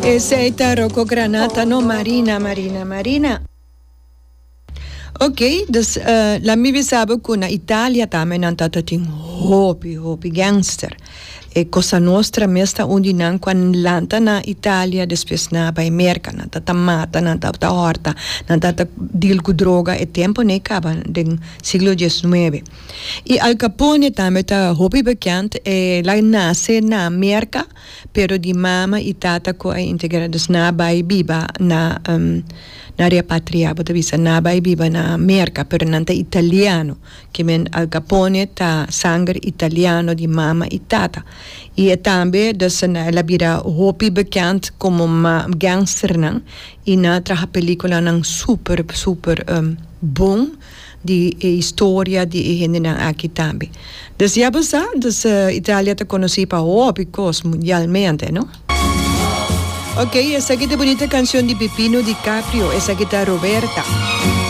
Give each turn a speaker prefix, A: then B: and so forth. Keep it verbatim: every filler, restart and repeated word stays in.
A: Esei ta Rocco Granata, no? Marina, Marina, Marina. Ok, dus uh, laga mi bisa ku na Italia tambe nan tabatin hopi, hopi gangster. E Cosa Nostra mes ta un di nan ku a lanta na Italia, despues nan a bai Merka, nan tabata mata, nan tabata hòrta, nan tabata deal ku droga, e tempu ei kaba den siglo diesnuebe. I Al Capone tambe ta hopi bekend, el a nase na Merka, pero di mama i tata ku a integrá, dus nan a bai biba na um, na repatriá, bo ta bisa, nan a bai biba na Merka, pero nan ta italiano, ke men Al Capone ta sanger italiano di mama i tata. I tambe, dus el a bira hopi bekend komo ma gangster nan, i nan a traha pelíkulanan super super um, bon di e historia di e hendenan aki tambe. Dus ja, basta, dus uh, Italia ta konosí pa hopi kos mundialmente, no? Ok, esaki ta bunita kanshon di Pipino Di Caprio, esaki ta Roberta.